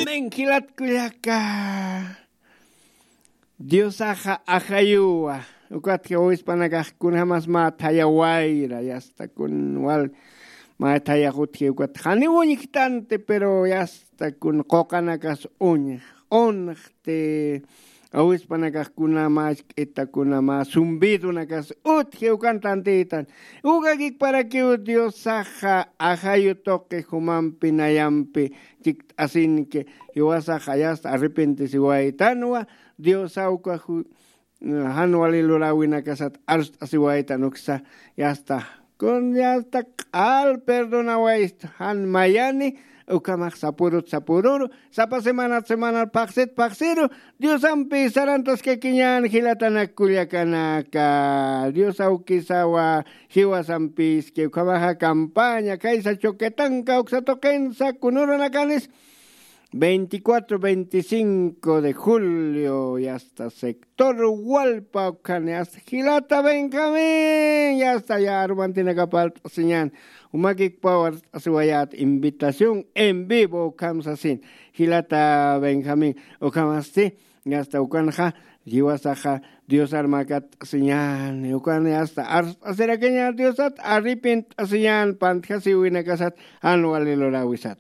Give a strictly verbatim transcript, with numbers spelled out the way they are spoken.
Amén, jilat kullaka. Diosaxa ajayuwa. Ukatki awispanakax kunjamas mä thaya wayra, yasta kun wal mä thayax utji ukat janiw uñjtanti, pero yasta kun quqanakas uñj, unxti. Awispanakax kuna mä ch'ita, kuna mä zumbidonakas utji ukan tantitan. Ukakikparakiw Diosaxa ajayu tuqi jumampi nayampi chikt'asinki, jiwasaxa yasta arrepentisiwaytanwa. Diosaw uka ju- jan wali luräwinakasat arst'asiwaytan uksa, yasta kun yasta q'al perdonawaysta jan mayani. Ukhamax sapurut sapururu, sapa semanat semanat phaxsit phaxsiru Diosampi sarantaskakiñän jilatanak kullakanaka. Dios awkisawa jiwasampiski. Ukhamaxa campaña khaysa Choquetanca uksa tuqinsa kunurunakanis veinticuatro, veinticinco de julio, yasta sector Walpa ukkhani, yasta jilata Benjamín, yasta ya arumantinakap art'asiñän, umakikpaw art'asiwayät invitación en vivo ukham sasin, jilata Benjamín. Ukhamasti, yasta ukanxa jiwasaxa Diosar mä katt'asiñäni, ukan yasta art'asirakiñän Diosat, arrepent'asiñän pantjasiwinakasat jan wali luräwisat.